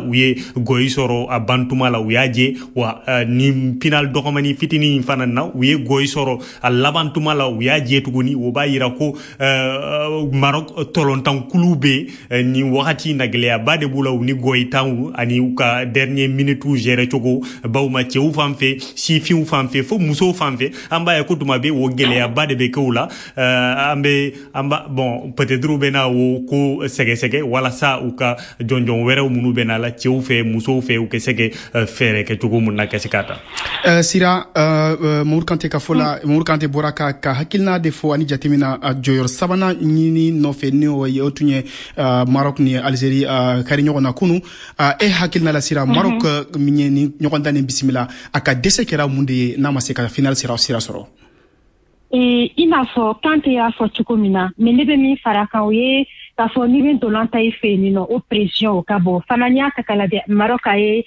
U ye goyi sɔrɔ a bantuma la, u y'a je wa. Ni final dɔgɔmani fitinin in fana na, u ye goyi sɔrɔ a laban tuma la, u y'a je tuguni. O b'a yira ko Maroc tɔlɔntankulu bɛ nin wagati na, gɛlɛyaba de b'u la, u ni goyi tanw ani u ka dernier minute gérer cogo baw ma, cɛw fan fɛ, sifinw fan fɛ, fo musow fan fɛ. An b'a ye ko tuma bɛ o gɛlɛyaba de bɛ kɛ u la. An bɛ an ba bon, peut-être u bɛna o ko sɛgɛsɛgɛ walasa u ka jɔnjɔn wɛrɛw minnu bɛ na la, cɛw fɛ, musow fɛ, u kɛ se kɛ fɛɛrɛ kɛ cogo mun na ka se k'a ta. Sira, Mamadu Kante ka fɔ la, Mamadu Kante bɔra ka hakilina de fɔ ani jatemina jɔyɔrɔ sabanan ɲini nɔfɛ, ni o ye o tun ye Maroc ni Algérie kari ɲɔgɔn na kunu. E hakilina la, Sira, Maroc min ye ni ɲɔgɔn dan ni bisimila, a ka dɛsɛ kɛra mun de ye n'a ma se ka final sira sɔrɔ? I n'a fɔ Kante y'a fɔ cogo min na, mais ne bɛ min fara kan, o ye k'a fɔ n'i bɛ ntolan ta i fɛ yen nɔ, o pression o ka bon fana. N'i y'a ta k'a lajɛ, Maroc a ye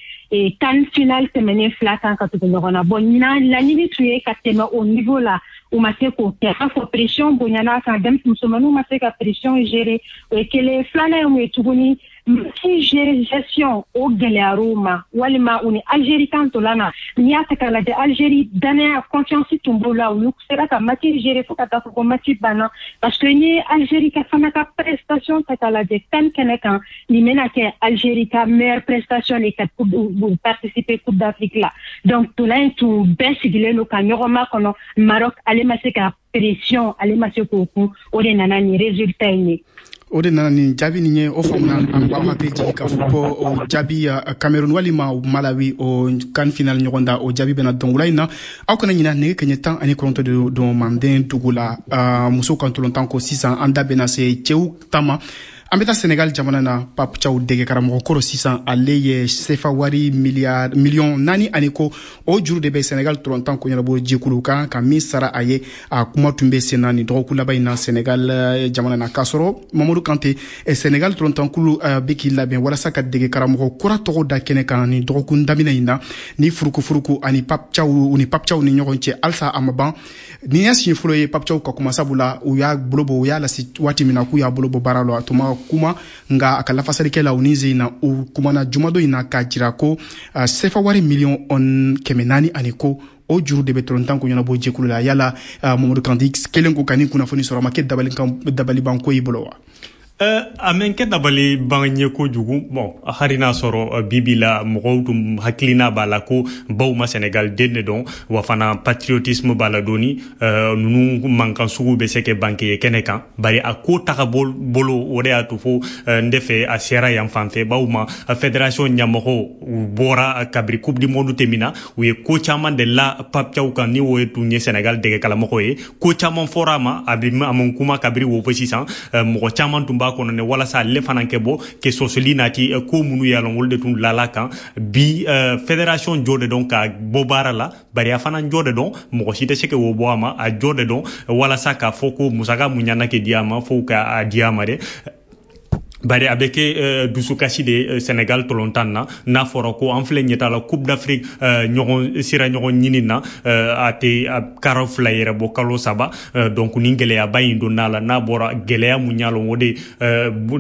CAN final tɛmɛnen fila kan ka tugu ɲɔgɔn na. Bon, ɲinan laɲini tun ye ka tɛmɛ o niveau la, u ma se k'o kɛ. B'a fɔ pression bonyana kan, musomaninw ma se ka pression gérer, o ye kelen. Filanan ye mun ye tuguni? Match gérer, gestion o gɛlɛyar'u ma, walima u ni Algérie kan ntolan na. N'i y'a ta k'a lajɛ, Algérie danaya, confiance tun b'u la, olu sera ka match gérer fo ka taa fɔ ko match banna, parce que n'i ye Algérie ka fana ka prestation ta k'a lajɛ CAN kɛnɛ kan, nin bɛna kɛ Algérie ka meilleure prestation de ka u participer Coupe d'Afrique la. Donc ntolan in tun bɛɛ sigilen don ka ɲɔgɔn makɔnɔ. Maroc ale ma se ka pression, ale ma se k'o kun, o de nana nin résultat in ye. O de nana nin jaabi nin ye. O faamuna. An b'aw hakili jigin k'a fɔ ko o jaabi, Cameroun walima Malawi, o CAN final ɲɔgɔn da, o jaabi bɛna dɔn wula in na. Aw kana ɲina, nɛgɛ kɛɲɛ 19 de don Manden dugu la. Musow ka ntolantan ko, sisan an da bɛna se cɛw ta ma. An bɛ taa Senegal jamana na. Pape Thiaw, dege karamɔgɔ kɔrɔ, sisan ale ye sefa wari miliyari miliyɔn 4 ani ko, o juru de bɛ Senegal tɔlɔntan ko ɲɛnabɔ jɛkulu kan ka min sara a ye. A kuma tun bɛ sen na nin dɔgɔkun laban in na Senegal jamana na. K'a sɔrɔ, Mamadu Kante, Senegal tɔlɔntankulu bɛ k'i labɛn walasa ka dege karamɔgɔ kura tɔgɔ da kɛnɛ kan nin dɔgɔkun daminɛ in na, ni furukufuruku ani Pape Thiaw, u ni Pape Thiaw ni ɲɔgɔn cɛ halisa a ma ban. Nin ye siɲɛ fɔlɔ ye Pape Thiaw ka kuma, sabula u y'a bolo bɔ, u y'a lase waati min na k'u y'a bolo bɔ baara la, a tun ma kuma, nka a ka lafasalikɛ la, u ni ze in na, u kumana jumadon in na k'a jira ko sefa wari miliyɔn 400 ani ko, o juru de bɛ tɔlɔntan ko ɲɛnabɔ jɛkulu la. Yala, Mamadu Kante kelen ko ka nin kunnafoni sɔrɔ, a ma kɛ dabalibanko y'i bolo wa? A mɛn kɛ dabali ban ye kojugu. Bon, hali n'a sɔrɔ bibi la mɔgɔw tun hakilina b'a la ko baw ma Senegal den de dɔn wa, fana patriotisme b'a la dɔɔni, ninnu mankan sugu bɛ se kɛ banque ye kɛnɛ kan. Bari a ko taga bolo, o de y'a to fo n de fɛ a sera yan fan fɛ. Baw ma fédération ɲɛmɔgɔw, u bɔra kabiri Coupe du monde tɛmɛna, u ye ko caman de la Pape Thiaw kan, ni o ye tun ye Senegal dɛgɛ kalamɔgɔ ye. Ko caman fɔra a ma, a bɛ a ma kuma kabiri wo fo sisan. Mɔgɔ caman tun b'a kɔnɔ ne walasa ale fana kɛ bɔ ke sɔsɔli nati ko minnu y'a lɔn, olu de tun lala kan. Bi fédération jɔ de dɔn ka bɔ baara la, bari a fana jɔ de dɔn, mɔgɔ si tɛ se k'o bɔ a ma. A jɔ de dɔn walasa k'a fɔ ko musaka mun ɲana ke di a ma, fo ka a di a ma dɛ. Bari a bɛ kɛ dusukasi de Sénégal tɔlɔntan na, n'a fɔra ko an filɛ ɲɛta la Coupe d'Afrique ɲɔgɔn sira ɲɔgɔn ɲini na, a tɛ karo 2 yɛrɛ bɔ, kalo 3. Donc nin gɛlɛyaba in donna la, n'a bɔra gɛlɛya mun y'a lɔn, o de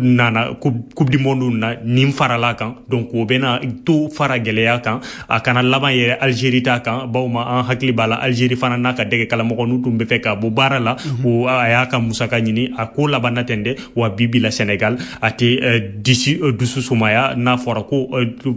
nana Coupe du monde na nin farala kan. Donc o bɛna to fara gɛlɛya kan, a kana laban yɛrɛ Algérie ta kan. Bawo ma an hakili b'a la, Algérie fana n'a ka dɛgɛ kalamɔgɔ n'u tun bɛ fɛ ka bɔ baara la, o a y'a ka musaka ɲini, a ko laban na ten dɛ. Wa bi bi la Sénégal a tɛ disi dusu sumaya, n'a fɔra ko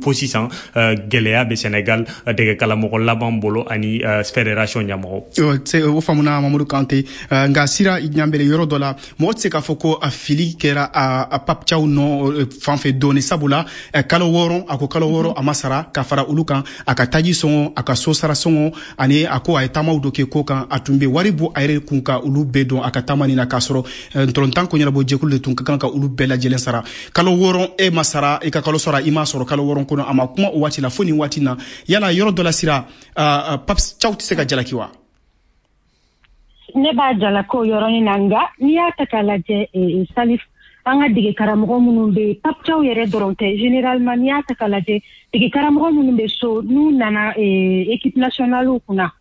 fo sisan gɛlɛya bɛ Sénégal dɛgɛ kalamɔgɔ laban bolo ani fédération ɲɛmɔgɔ. O faamuna, Mamadu Kante. Nka Sira Ɲanbele, yɔrɔ dɔ la, mɔgɔ tɛ se k'a fɔ ko a fili kɛra a Pape Thiaw nɔ fan fɛ dɔɔni, sabula kalo 6, a ko kalo 6 a ma sara, ka fara olu kan, a ka taji sɔngɔ, a ka so sara sɔngɔ, ani a ko a ye taamaw dɔ kɛ ko kan, a tun bɛ wari bɔ a yɛrɛ kun ka olu bɛɛ dɔn a ka taama nin na, k'a sɔrɔ ntɔlɔntan ko ɲɛnabɔ jɛkulu de tun ka kan ka olu bɛɛ lajɛlen sara. Kalo 6 e ma sara, i ka kalo sara i m'a sɔrɔ kalo 6 kɔnɔ, a ma kuma o waati la fo nin waati na. Yala yɔrɔ dɔ la, Sira, Pape Thiaw tɛ se ka jalaki wa? Ne b'a jalaki o yɔrɔnin na, nka n'i y'a ta k'a lajɛ, Salif, an ka dege karamɔgɔ minnu bɛ yen, Pape Thiaw yɛrɛ dɔrɔn tɛ, généralement n'i y'a ta k'a lajɛ, dege karamɔgɔ minnu bɛ so, n'u nana équipe nationale kunna,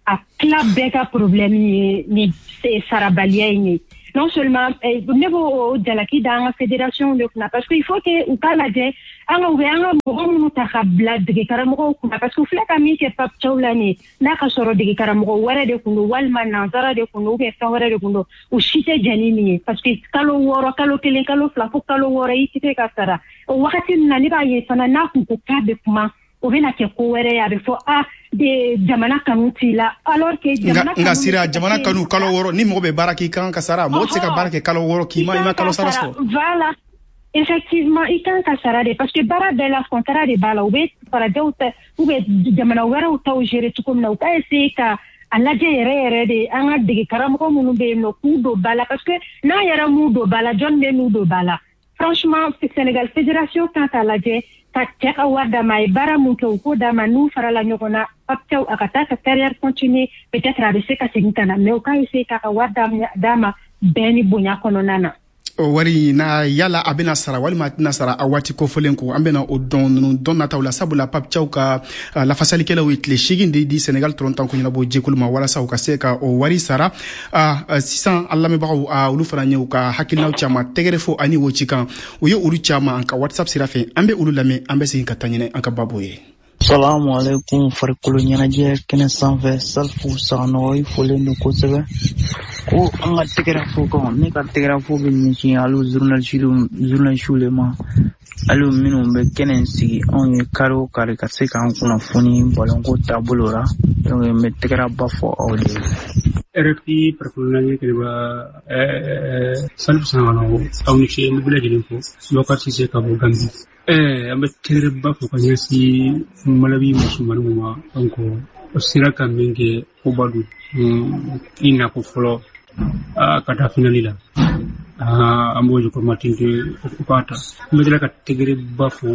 a tila bɛɛ ka problème ye ni sarabaliya in ye. Non seulement ne b'o jalaki da an ka fédération de kunna, parce que il faut que u k'a lajɛ. An ka u bɛ an ka mɔgɔ minnu ta ka bila dege karamɔgɔw kunna, parce que u filɛ ka min kɛ Pape Thiaw la nin ye, n'a ka sɔrɔ dege karamɔgɔ wɛrɛ de kun don, walima nansara de kun don, ou bien fɛn wɛrɛ de kun don, u si tɛ jɛn ni nin ye, parce que kalo 6, kalo 1, kalo 2, fo kalo 6 i tɛ se ka sara. O wagati min na, ne b'a ye fana, n'a kun ko k'a bɛ kuma, o bɛna kɛ ko wɛrɛ ye, a bɛ fɔ a de jamana kanu t'i la, alors que jamana Nka Sira, jamana kanu, kalo 6, ni mɔgɔ bɛ baara k'i kan ka sara, mɔgɔ tɛ se ka baara kɛ kalo 6 k'i ma i ma kalo sara sɔrɔ. Voilà, effectivement, i kan ka sara de, parce que baara bɛɛ la, contrat de b'a la. U bɛ farajɛw ta ou bien jamana wɛrɛw taw gérer cogo min na, u ka essayer ka a lajɛ yɛrɛ yɛrɛ de, an ka dege karamɔgɔ minnu bɛ yen nɔ, k'u don ba la, parce que n'an yɛrɛ m'u don ba la, jɔn bɛ n'u don ba la? Franchement, Sénégal fédération kan k'a lajɛ ka cɛ ka wari d'a ma. A ye baara mun kɛ, u k'o d'a ma. N'u farala ɲɔgɔn na, Pape Thiaw a ka taa ka carrière continuer, peut-être a bɛ se ka segin ka na, mais u k'a essayer k'a ka wari d'a ma bɛn ni bonya kɔnɔna na. O wari na, yala a bɛna sara walima a tɛna sara a waati kofɔlen ko, an bɛna o dɔn ninnu dɔn nataw la, sabula Pape Thiaw ka lafasalikɛlaw ye tile 8 de di Senegal tɔrɔntan ko ɲɛnabɔ jɛkulu ma walasa u ka se ka o wari sara. Sisan, an lamɛnbagaw, olu fana ye u ka hakilinaw caman tɛgɛrɛ fɔ ani o cikan, u ye olu caman an ka WhatsApp sira fɛ. An bɛ olu lamɛn, an bɛ segin ka taa ɲinɛ an ka babu ye. Salamu alaikum, farikolo ɲɛnajɛ kɛnɛ sanfɛ, Salifu Saganɔgɔ, i folen don kosɛbɛ. Ko an ka tɛgɛrɛ fo kan, ne ka tɛgɛrɛ fo bɛ ɲɛsin hali journaliste le ma, hali minnu bɛ kɛnɛ sigi anw ye kari o kari ka se k'an kunnafoni balonko taabolo la. Donc n bɛ tɛgɛrɛ ba fɔ aw de ye. RFI farikolo ɲɛnajɛ kɛnɛba, Salifu Saganɔgɔ, aw ni ce, n bɛ bɛɛ lajɛlen fo. Bɔkari Sise ka bɔ Gambi. An bɛ tɛgɛrɛba fɔ ka ɲɛsin Malawi musomaninw ma. Donc o sera ka min kɛ, koba don, i nako fɔlɔ ka taa finali la, an b'o jukɔrɔma ten o k'a ta. N bɛ tila ka tɛgɛrɛba fɔ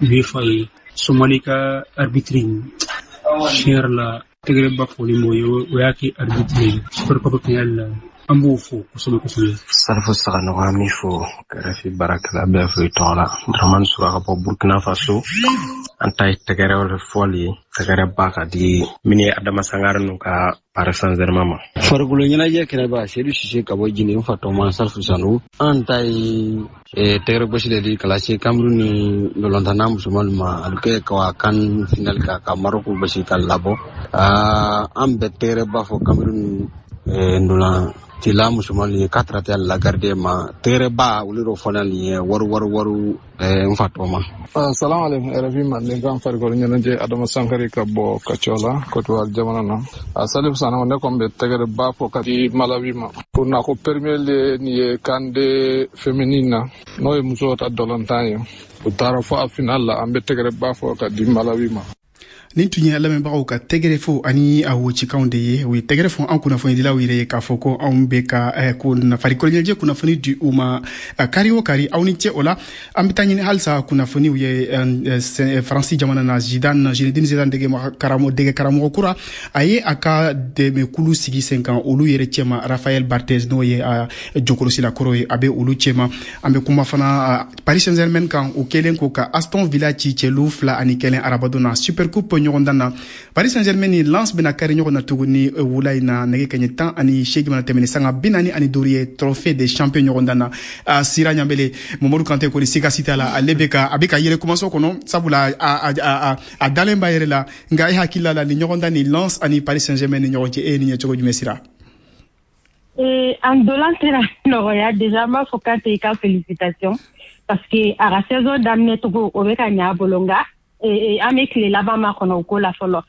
UEFA ye, Somali ka arbitre, tiɲɛ yɛrɛ la, tɛgɛrɛba fɔlen b'o ye, o y'a kɛ arbitre ye Super Cup finale la, an b'o fo kosɛbɛ kosɛbɛ. Salifu Saganɔgɔ, an b'i fo, kɛrɛfɛ baarakɛla bɛɛ fo i tɔgɔ la. Dramani Sura ka bɔ Burkina Faso. An ta ye tɛgɛrɛ fɔli ye, tɛgɛrɛ ba ka di min ye Adama Sangare n'u ka Paris Saint-Germain ma. Farikolo ɲɛnajɛ kɛnɛba, Sedu Sise ka bɔ Jini, n fatɔma Salifu Sanu. An ta ye tɛgɛrɛ gosi de di kalase Cameroun ni ndolantana musomanw ma, a bɛ kɛ ka CAN finale ka Maroc gosi ka labɔ. An bɛ tɛgɛrɛ ba fɔ Cameroun ndolan tila musomanw ye k'a taara la garde ma, tɛgɛrɛ ba olu dɔ fɔla nin ye waru waru waru, n fatɔma. Salamu alaikum, RFI Mandenkan farikolo ɲɛnajɛ, Adama Sankari ka bɔ Kacɔla, Côte d'Ivoire jamana na. A Salif Sanogo, ne kɔni bɛ tɛgɛrɛ ba fɔ ka di Malawi ma. Ko na ko premier le nin ye CAN de féminine na, n'o ye musow ta dɔlɔntan ye. U taara fo a final la, an bɛ tɛgɛrɛ ba fɔ ka di Malawi ma. Nin tun ye lamɛnbagaw ka tɛgɛrɛ fo ani a wocikanw de ye. U ye tɛgɛrɛ fɔ an kunnafonidilaw yɛrɛ ye k'a fɔ ko anw bɛ ka ko farikolo ɲɛnajɛ kunnafoni di u ma kari o kari. Aw ni ce o la. An bɛ taa ɲini halisa kunnafoniw ye Faransi jamana na. Zidane, Zinedine Zidane, dege karamɔgɔ, dege karamɔgɔ kura, a ye a ka dɛmɛkulu sigi sen kan. Olu yɛrɛ cɛma, Raphaël Barthez, n'o ye jɔkɔlɔsila kɔrɔ ye, a bɛ olu cɛma. An bɛ kuma fana Paris Saint-Germain kan, o kɛlen ko ka Aston Villa ci cɛlu 2-1 arabadon na Super Coupe ɲɔgɔndan na. Paris Saint-Germain ni Lens bɛna kari ɲɔgɔn na tuguni wula in na, nɛgɛ kɛɲɛ 18 mana tɛmɛ ni sanga 45 ye, Trophée des champions ɲɔgɔndan na. Sira Ɲanbele, Mamadu Kante kɔni, siga si t'a la, ale bɛ ka a bɛ ka yɛlɛ kumaso kɔnɔ, sabula a dalen b'a yɛrɛ la. Nka e hakili la, ni ɲɔgɔndan ni Lens ani Paris Saint-Germain ni ɲɔgɔn cɛ, e ye nin ye cogo jumɛn, Sira? En dolan tɛna nɔgɔya. Déjà, n b'a fɔ Kante i ka félicitation, parce que a ka saison daminɛ cogo, o bɛ ka ɲɛ a bolo, nka an bɛ tile laban ma kɔnɔ o ko la fɔlɔ.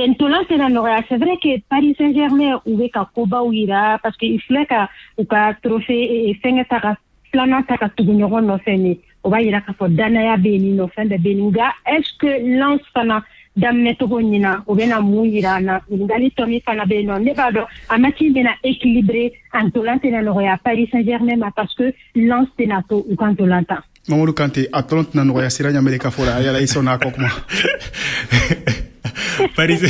Ntolan tɛna nɔgɔya. C'est vrai que Paris Saint-Germain, u bɛ ka kobaw yira, parce que i filɛ ka u ka trophée fɛngɛ ta ka filanan ta ka tugu ɲɔgɔn nɔfɛ nin, o b'a yira k'a fɔ danaya bɛ yen nɔ, fɛn bɛɛ bɛ yen. Nka est ce que Lens fana daminɛ cogo ɲina, o bɛna mun yira an na? Ɲininkali tɔ min fana bɛ yen nɔ, ne b'a dɔn a match bɛna équilibré. A ntolan tɛna nɔgɔya Paris Saint-Germain ma, parce que Lens tɛna to u ka ntolan tan. Mamadu Kante, a tɔlɔn tɛna nɔgɔya Sira Ɲamele ka fɔ la. Yala i sɔnna a kɔ kuma? Paris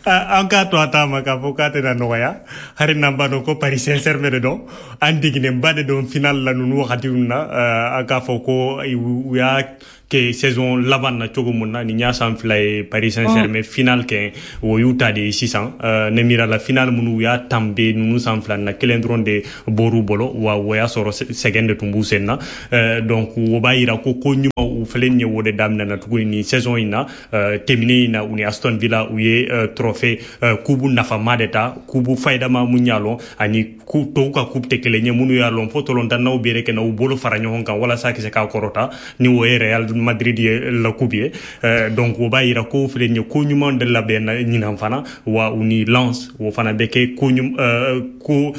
An k'a to a ta ma k'a fɔ k'a tɛna nɔgɔya, hari n'an b'a dɔn ko Paris Saint-Germain de don, an deginnenba de don final la ninnu wagatiw na. An k'a fɔ ko u y'a kɛ saison laban na cogo mun na, nin y'a san 2 ye Paris Saint-Germain final kɛ, o y'u ta de ye sisan. Ne miira la, final minnu u y'a tanbe ninnu san 2 na, kelen dɔrɔn de bɔr'u bolo, wa o y'a sɔrɔ sɛgɛn de tun b'u sen na. Donc o b'a yira ko ko ɲuman u filɛ nin ye, o de daminɛna tuguni nin saison in na. Tɛmɛnen in na, u ni Aston Villa, u ye trophée kubu nafama de ta, kubu fayidama mun y'a lɔn ani tɔw ka coupe tɛ kelen ye, minnu y'a lɔn fo tɔlɔntannaw bɛrɛ kɛ na u bolo fara ɲɔgɔn kan walasa ka se k'a kɔrɔta, ni o ye Real Madrid ye la coupe ye. Donc o b'a yira ko filɛ nin ye, ko ɲuman de labɛnna ɲinan fana, wa u ni Lens, o fana bɛ kɛ ko ko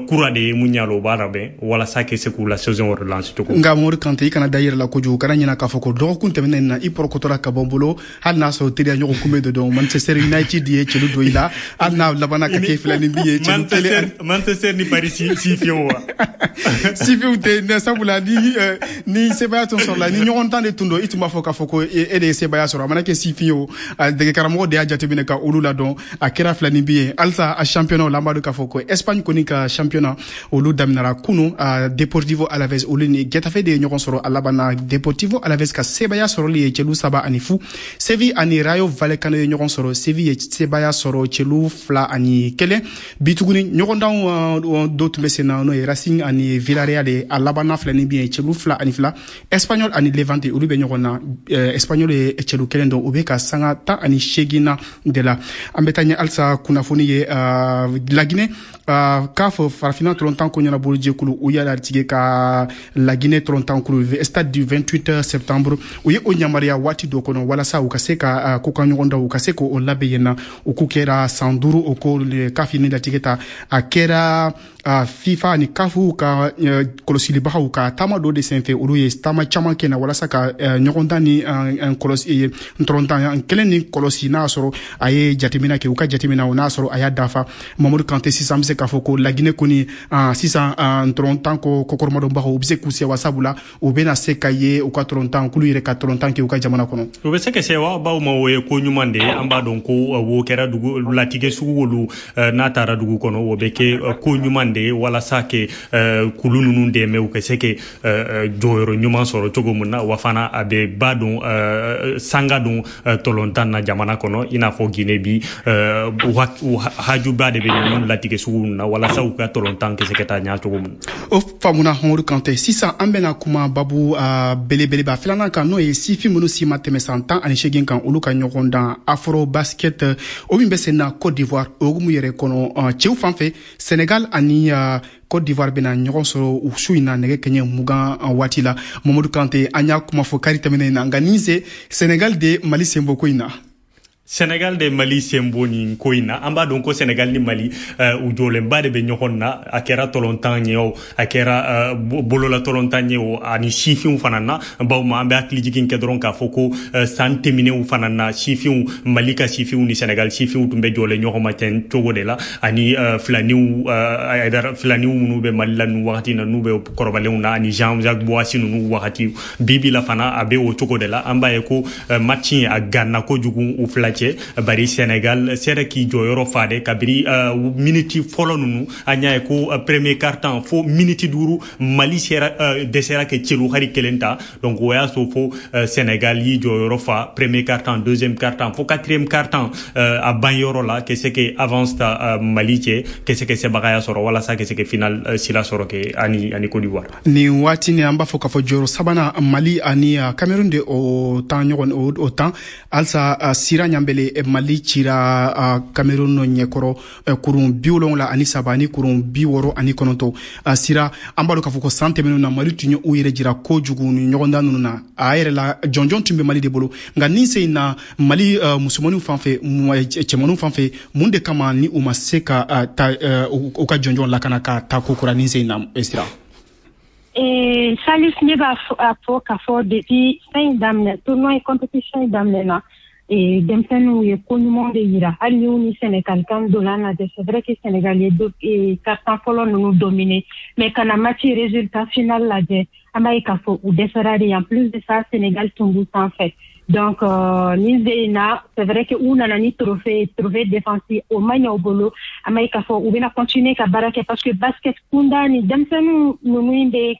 kura de ye mun y'a lɔn, o b'a labɛn walasa ka se k'u la saison wɛrɛ lancer cogo. Nka Mamadu Kante, i kana da i yɛrɛ la kojugu, kana ɲina k'a fɔ ko dɔgɔkun tɛmɛnen na, i pɔrɔkɔtɔra ka bɔ n bolo, hali n'a sɔrɔ teriya ɲɔgɔn kunbɛn de don, Manchester United ye celu don i la, hali n'a labanna ka kɛ 2 ni bi ye, celu kelen. Manchester ni Paris sifiyew wa? Sifiw tɛ, sabula ni sebaya tun sɔrɔla ni ɲɔgɔn tan de tun don, i tun b'a fɔ k'a fɔ ko e de ye sebaya sɔrɔ. A mana kɛ sifin ye o, dege karamɔgɔ de y'a jateminɛ ka olu ladɔn, a kɛra 2 ni bi ye. Halisa a championnat la, an b'a dɔn k'a fɔ ko Espagne kɔni ka championnat olu daminɛra kunu. Deportivo Alaves, olu ni Getafe de ye ɲɔgɔn sɔrɔ, a laban na Deportivo Alaves ka sebaya sɔrɔli ye celu 3-0. Seville ani Rayo Vallecano ye ɲɔgɔn sɔrɔ, Seville ye sebaya sɔrɔ celu 2-1. Bi tuguni ɲɔgɔndanw dɔ tun bɛ sen na, n'o ye Racing ani Villarreal ye, a laban na 2 ni bi ye, celu 2-2. Espanyol ani Levante, olu bɛ ɲɔgɔn na, Espanyol ye celu 1 don, u bɛ ka sanga 18 na de la. An bɛ taa ɲɛ halisa kunnafoni ye Laginɛ CAF farafinna tɔlɔntan ko ɲɛnabolo jɛkulu, u y'a latigɛ ka Laginɛ tɔlɔntan kulu stade du 28 septembre, u ye o yamaruya waati dɔ kɔnɔ walasa u ka se ka ko ka ɲɔgɔn da, u ka se k'o labɛn yen na. O ko kɛra san 5, o ko CAF ni latigɛ ta, a kɛra FIFA ni CAF ka kɔlɔsilibagaw ka taama dɔ de senfɛ, olu ye taama caman kɛ na walasa ka ɲɔgɔndan ni kɔlɔsi ntɔrɔntan kelen ni kɔlɔsi, n'a sɔrɔ a ye jateminɛ kɛ, u ka jateminɛ o n'a sɔrɔ a y'a dafa. Mamadu Kante, sisan an bɛ se k'a fɔ ko Laginɛ kɔni sisan ntɔrɔntan ko kɔkɔrɔmadonbagaw, u bɛ se k'u sewa, sabula u bɛna se ka ye u ka tɔrɔntan kulu yɛrɛ ka tɔrɔntan kɛ u ka jamana kɔnɔ. U bɛ se ka sewa baw ma, o ye ko ɲuman de ye. An b'a dɔn ko wo kɛra dugu latigɛ sugu olu n'a taara dugu kɔnɔ, o bɛ kɛ ko ɲuman de ye walasa ke kulu ninnu dɛmɛ u ka se ke jɔyɔrɔ ɲuman sɔrɔ cogo min na, wa fana a bɛ ba don sanga don tɔlɔntan na jamana kɔnɔ, i n'a fɔ Guinée bi hajuba de bɛ ninnu latigɛ sugu na walasa u ka tɔlɔntan kɛ se ka taa ɲɛ cogo min. O faamuna Mamadu Kante. Sisan an bɛna kuma babu belebeleba filanan kan, n'o ye sifin minnu si ma tɛmɛ san 18 kan, olu ka ɲɔgɔn dan Afro Basket, o min bɛ sen na Côte d'Ivoire o hukumu yɛrɛ kɔnɔ. Cɛw fan fɛ, Sénégal ani Côte d'Ivoire bɛna ɲɔgɔn sɔrɔ u su in na nɛgɛ kɛɲɛ 20 waati la. Mamadu Kante, an y'a kuma fɔ kari tɛmɛnen na, nka nin se Sénégal de Mali senbɔ ko in na. Sénégal de Mali senbo nin ko in na, an b'a dɔn ko Sénégal ni Mali u jɔlenba de bɛ ɲɔgɔn na, a kɛra tɔlɔntan ye o, a kɛra bolola tɔlɔntan ye o, ani sifinw fana na. Bawo ma an bɛ hakili jigin kɛ dɔrɔn k'a fɔ ko san tɛmɛnenw fana na, sifinw, Mali ka sifinw ni Sénégal sifinw tun bɛ jɔlen ɲɔgɔn ma ten cogo de la, ani filaniw filaniw minnu bɛ Mali la nin wagati na, n'u bɛ kɔrɔbalenw na, ani Jean-Jacques Boissy ninnu wagati. Bi la fana a bɛ o cogo de la. An b'a ye ko match in a ganna kojugu u fila cɛ, bari Sénégal sera k'i jɔyɔrɔ fa de kabiri miniti fɔlɔ ninnu. An y'a ye ko premier quart-temps fo miniti 5, Mali sera dɛsɛra kɛ celu hari kelen ta. Donc o y'a sɔrɔ fo Sénégal y'i jɔyɔrɔ fa premier quart-temps, deuxième quart-temps, fo quatrième quart-temps a ban yɔrɔ la ka se ke avance ta Mali cɛ, ka se ke sebagaya sɔrɔ walasa ka se ke final sira sɔrɔ ke ani Côte d'Ivoire. Nin waati ni an b'a fɔ k'a fɔ jɔyɔrɔ sabanan Mali ani Cameroun de o tan ɲɔgɔn o tan halisa. Sira ɲanbele, Mali cira Cameroun ɲɛkɔrɔ kurun 73 ani kurun 69. Sira, an b'a dɔn k'a fɔ ko san tɛmɛnenw na, Mali tun ye u yɛrɛ jira kojugu ni ɲɔgɔndan ninnu na, a yɛrɛ la jɔnjɔn tun bɛ Mali de bolo. Nka nin sen in na, Mali musomaninw fan fɛ, cɛmaninw fan fɛ, mun de kama ni u ma se ka ta u ka jɔnjɔn lakana ka taa ko kura nin sen in na, Sira? Salif, ne b'a fɔ k'a fɔ depuis fɛn in daminɛ, tournoi compétition in daminɛ na, denmisɛnninw ye ko ɲuman de yira, hali ni ni Sénégal kan donna lajɛ. C'est vrai que Sénégal ye quart-temps fɔlɔ ninnu dominer, mais kana match résultat final lajɛ, An b'a ye k'a fɔ u dɛsɛra de. En plus de ça, Sénégal tun b'u sanfɛ. Donc nin sen in na, c'est vrai que u nana ni trophée défensif, o ma ɲɛ u bolo. An b'a ye k'a fɔ u bɛna continuer ka baara kɛ, parce que basket kunda ni denmisɛnninw ninnu bɛ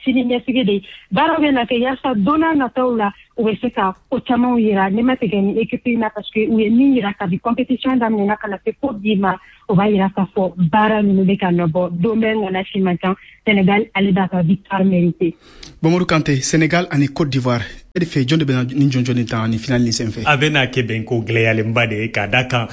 sini ɲɛsigi de. Baara bɛ na kɛ yaasa don n'a nataw la, u bɛ se ka ko camanw yira. Ne ma tigɛ ni équipe in na, parce que u ye min yira kabi compétition daminɛna ka na se fo bi ma, o b'a yira k'a fɔ baara ninnu bɛ ka nɔ bɔ. Don bɛ ŋana si man can, Sénégal ale b'a ka victoire mérité. Mamadou Kanté, Sénégal ani Côte d'Ivoire, e de fɛ, jɔn de bɛna ni jɔnjɔn nin ta ni finale nin senfɛ? A bɛna kɛ bɛnko gɛlɛyalenba de ye, ka da kan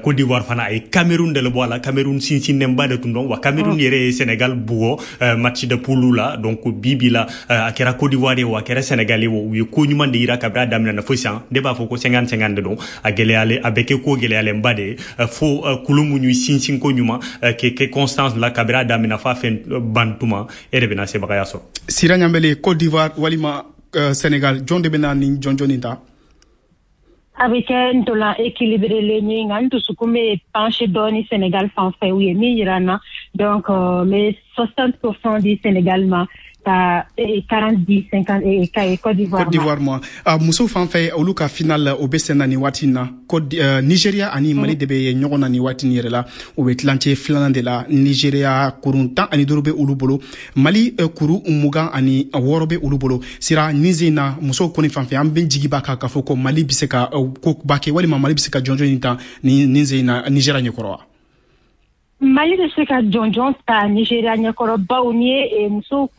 Côte d'Ivoire fana a ye Cameroun de bɔ a la. Cameroun sinsinnenba de tun don wa. Cameroun yɛrɛ ye Sénégal bugɔ match de poule la. Donc bi bi la, a kɛra Côte d'Ivoire ye o, a kɛra Sénégal ye o, u ye ko ɲuman de yira kabini a daminɛ na fo sisan. Ne b'a fɔ ko 50-50 de don. A gɛlɛyalen, a bɛ kɛ ko gɛlɛyalenba de ye fo kulu mun y'u sinsin ko ɲuman kɛ constance la kabini a daminɛ f'a fɛn ban tuma, e de bɛna sebagaya sɔrɔ. Sira Ɲanbele, Côte d'Ivoire walima Sénégal, jɔn de bɛna ni jɔnjɔn nin ta? A bɛ kɛ ntolan équilibré ye, nka n dusukun bɛ penché dɔɔni Sénégal fan fɛ, u ye min yira n na. Donc n bɛ 60% di Sénégal ma, ka 40 di 50 ka Côte d'Ivoire. Côte d'Ivoire ma. Musow fan fɛ, olu ka final o bɛ sen na nin waati in na. Côte Nigeria ani Mali de bɛ ɲɔgɔn na nin waati in yɛrɛ la. U bɛ tilancɛ filanan de la. Nigeria kurun 15 bɛ olu bolo, Mali kuru 26 bɛ olu bolo. Sira, nin sen na, musow kɔni fan fɛ, an bɛ jigi b'a kan k'a fɔ ko Mali bɛ se ka ko ba kɛ, walima Mali bɛ se ka jɔnjɔn in ta nin sen in na Nigeria ɲɛkɔrɔ wa? Mali bɛ se ka jɔnjɔn ta Nigeria ɲɛkɔrɔ, bawo n'i ye musow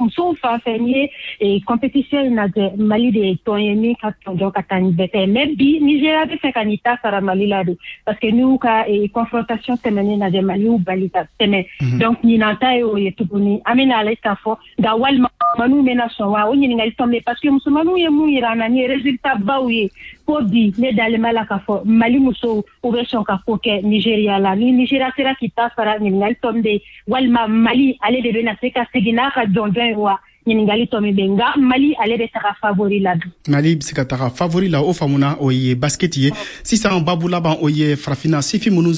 fan fɛ, n'i ye compétition in lajɛ, Mali de ye tɔn ye min ka jɔnjɔn ka taa ni bɛɛ ta ye. Mais bi, Nigeria bɛ fɛ ka n'i ta sara Mali la de, parce que n'i y'u ka confrontation tɛmɛnen lajɛ, Mali y'u bali ka tɛmɛ. Donc ɲinan ta ye o ye tuguni. An bɛna ale ta fɔ, nka walima musomaninw bɛna sɔn wa? O ɲininkali tɔn bɛ, parce que musomaninw ye mun yira an na ni résultat baw ye ko bi, ne dalen b'a la k'a fɔ Mali musow, u bɛ sɔn ka ko kɛ Nigeria la. Ni Nigeria sera k'i ta sara, ɲininkali tɔ min bɛ yen, walima Mali ale de bɛna se ka segin n'a ka jɔnjɔn ye wa? Ɲininkali tɔ min bɛ yen, nka Mali ale bɛ taga favori la bi. Mali bɛ se ka taga favori la, o faamuna. O ye basket ye. Sisan, babu laban, o ye farafinna sifin minnu,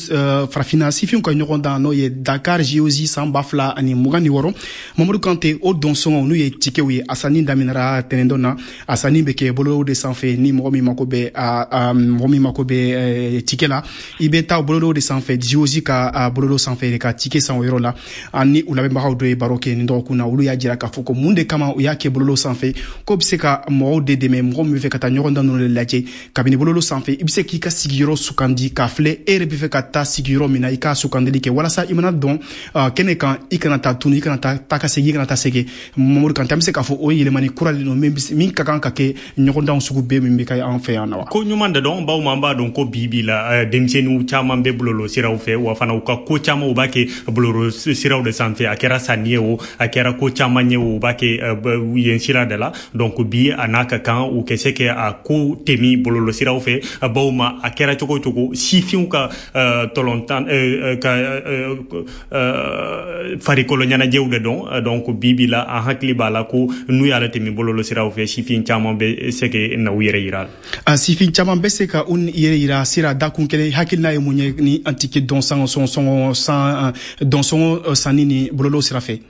farafinna sifinw ka ɲɔgɔn dan, n'o ye Dakar JOJ san 2026. Mamadu Kante, o dɔnsɔngɔ, n'u ye tikew ye, a sanni daminɛra tɛnɛndon na. A sanni bɛ kɛ bɔlɔlɔw de sanfɛ. Ni mɔgɔ min mako bɛ a mɔgɔ min mako bɛ tike la, i bɛ taa bɔlɔlɔw de sanfɛ, JOJ ka bɔlɔlɔ sanfɛ, ka tike san o yɔrɔ la. Ani u lamɛnbagaw dɔ ye baro kɛ nin dɔgɔkun na, olu y'a jira k'a fɔ ko mun de kama u y'a kɛ bɔlɔlɔ sanfɛ, k'o bɛ se ka mɔgɔw de dɛmɛ, mɔgɔ min bɛ fɛ ka taa ɲɔgɔn dan ninnu de lajɛ. Kabini bɔlɔlɔ sanfɛ, i bɛ se k'i ka sigiyɔrɔ sugandi k'a filɛ e yɛrɛ bɛ fɛ ka taa sigiyɔrɔ min na, i k'a sugandili kɛ walasa i mana dɔn kɛnɛ kan, i kana taa tunu, i kana taa taa ka segin, i kana taa segin. Mamadu Kante, an bɛ se k'a fɔ o ye yɛlɛmani kura de don min ka kan ka kɛ ɲɔgɔndanw sugu bɛɛ min bɛ kɛ an fɛ yan na wa? Ko ɲuman de dɔn, bawo an b'a dɔn ko bi bi la, denmisɛnninw caman bɛ bɔlɔlɔ siraw fɛ wa fana u ka ko caman, u b'a kɛ bɔlɔlɔ siraw de sanfɛ. A kɛra sanni ye o, a kɛra ko caman ye o, u b'a kɛ yen sira de la. Donc bi, a n'a ka kan u kɛ se kɛ a ko temi bɔlɔlɔ siraw fɛ, bawo ma a kɛra cogo o cogo, sifinw ka tɔlɔntan ka farikolo ɲɛnajɛw de dɔn. Donc bi bi la, an hakili b'a la ko n'u y'a temi bɔlɔlɔ siraw fɛ, sifin caman bɛ se ka na u yɛrɛ yira. A sifin caman bɛ se ka u yɛrɛ yira. Sira, dakun kelen, hakilina ye mun ye ni an tike dɔn sangɔ sɔngɔ san dɔnsɔngɔ sanni ni bɔlɔlɔ sira fɛ?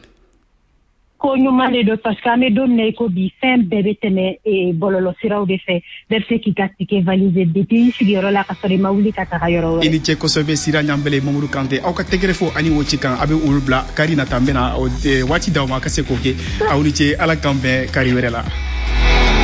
Ko ɲuman de don, parce que an bɛ don min na i ko bi, fɛn bɛɛ bɛ tɛmɛ bɔlɔlɔ siraw de fɛ. Bɛɛ bɛ se k'i ka ticket valiser depuis i sigiyɔrɔ la, ka sɔrɔ i ma wuli ka taga yɔrɔ wɛrɛ. I ni ce kosɛbɛ, Sira Ɲanbele, Mamadu Kante. Aw ka tɛgɛrɛ fo ani o ci kan, a bɛ olu bila kari nata. N bɛna waati d'aw ma a ka se k'o kɛ. Aw ni ce, Ala k'an bɛn kari wɛrɛ la.